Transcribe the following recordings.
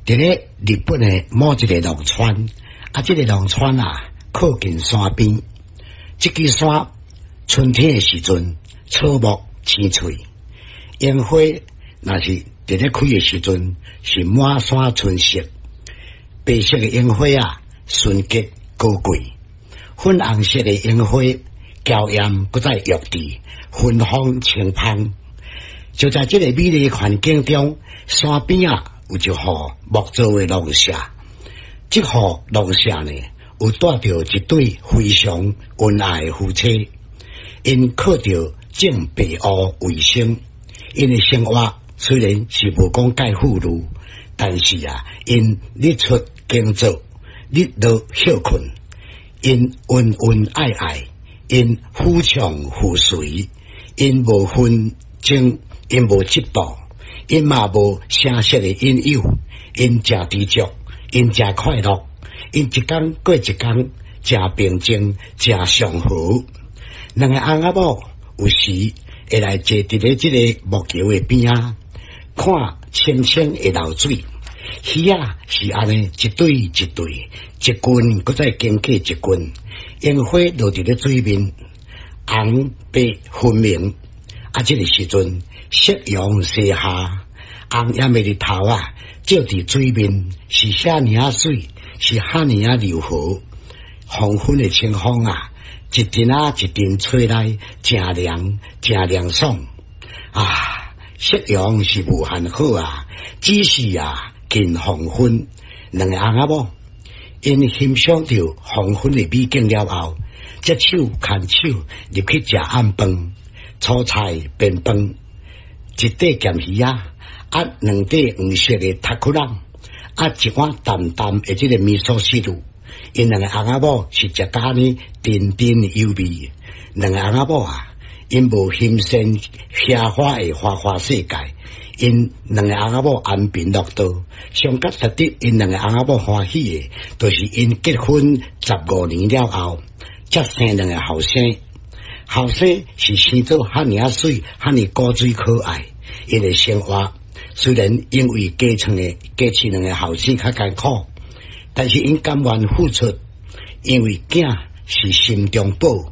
佇咧日本的某一個農村，啊，這個農村啊，靠近山邊，這支山春天的時陣，草木青翠，櫻花若是佇咧開的時陣，是滿山春色，白色的櫻花啊，純潔高貴；粉紅色的櫻花，嬌艷閣再玉緻，芬芳清芳。就在這個美麗環境中，山邊啊，有一戶木造的農舍。這戶農舍呢，有蹛著一對非常恩愛的夫妻，𪜶靠著種白芋為生。𪜶的生活雖然是無講蓋富裕，但是啊，𪜶日出耕作，日落歇睏，𪜶恩恩愛愛，𪜶夫唱婦隨，𪜶無紛爭，𪜶無嫉妒，𪜶嘛無聲色的引誘，𪜶誠知足，𪜶誠快樂，𪜶一工過一工，誠平靜，誠祥和。兩个翁仔某有時會來坐佇咧這个木橋的邊仔，看清清的流水，魚仔是按呢一對一對，一群閣再經過一群，櫻花落佇咧水面，紅白分明。啊，這个時陣，夕陽西下，紅艷的日頭啊，照佇水面，是遐爾仔媠，是遐爾仔柔和。黃昏的清風啊，一陣仔一陣吹來，誠涼，誠涼爽。啊，夕陽是無限好啊，只是啊，近黃昏，兩个翁仔某，𪜶欣賞著黃昏的美景了後，才手牽手入去食暗飯，粗菜便飯，一塊鹹魚仔，啊，兩塊黃色的タクラ啊，一碗淡淡的這个味噌汁。𪜶兩个翁仔某是食甲按呢津津有味。兩个翁仔某啊，𪜶無欣羨奢華的花花世界，𪜶兩个翁仔某安貧樂道。上較值得𪜶兩个翁仔某歡喜的，就是𪜶結婚15年了後，才生兩个後生。後生是生做遐爾仔媠，遐爾古錐可愛。𪜶的生活雖然因為加飼兩个後生較艱苦，但是𪜶甘願付出，因為囝是心中寶，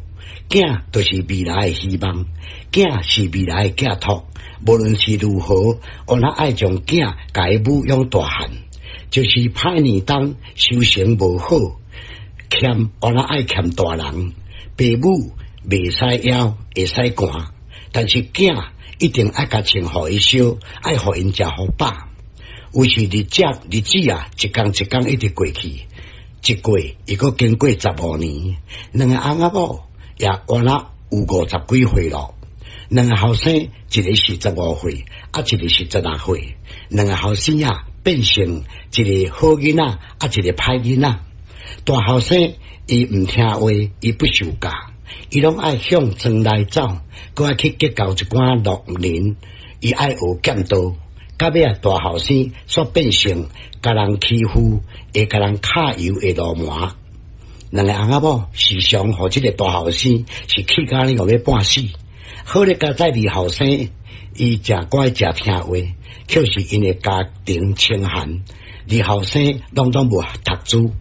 囝就是未來的希望，囝是未來的寄託。無論是如何，我若愛將囝共伊撫養大漢，就是歹年冬收成無好，欠我若愛欠大人，爸母袂使枵，會使寒，但是囝一定愛共穿予伊燒，愛予𪜶食予飽。有時日子日子啊，一工一工一直過去，一過又閣經過十五年，兩個翁仔某也敢若有50幾歲咯。兩個後生，一个是15歲，啊，一個是16歲。兩個後生啊，變成一个好囡仔，啊，一个歹囡仔。大後生伊毋聽話，伊不受教，伊攏愛向莊內走，閣愛去結交一寡路人，伊愛學劍道。到尾啊，大後生煞變成共人欺負、會共人揩油的流氓。兩个翁仔某時常予這个大後生是氣甲呢欲半死。好咧，佳哉二後生，伊誠乖誠聽話，卻是𪜶的家庭清寒。二後生攏總無讀書，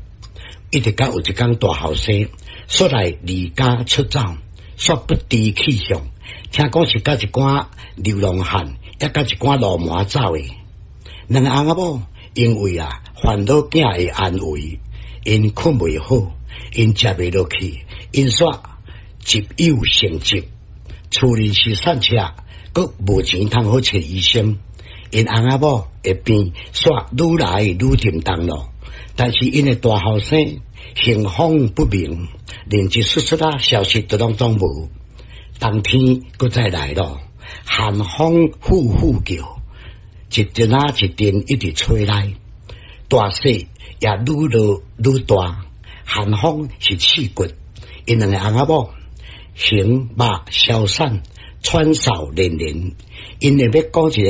一直到有一工大後生煞來離家出走，煞不知去向。聽講是佮一寡流浪漢，抑佮一寡流氓走的。兩个翁仔某因為啊煩惱囝的安危，𪜶睏袂好，𪜶食袂落去，𪜶煞集憂成疾，厝裡是散赤，閣無錢通好揣醫生。𪜶翁仔某的病煞愈來愈沉重咯。但是𪜶的大後生行蹤不明，連一絲絲仔消息都攏總無。冬天閣再來咯，寒風呼呼叫，一陣仔一陣一直吹來，大雪也愈落愈大，寒風是刺骨。𪜶兩個翁仔某形目消散，喘嗽連連。𪜶會欲講一个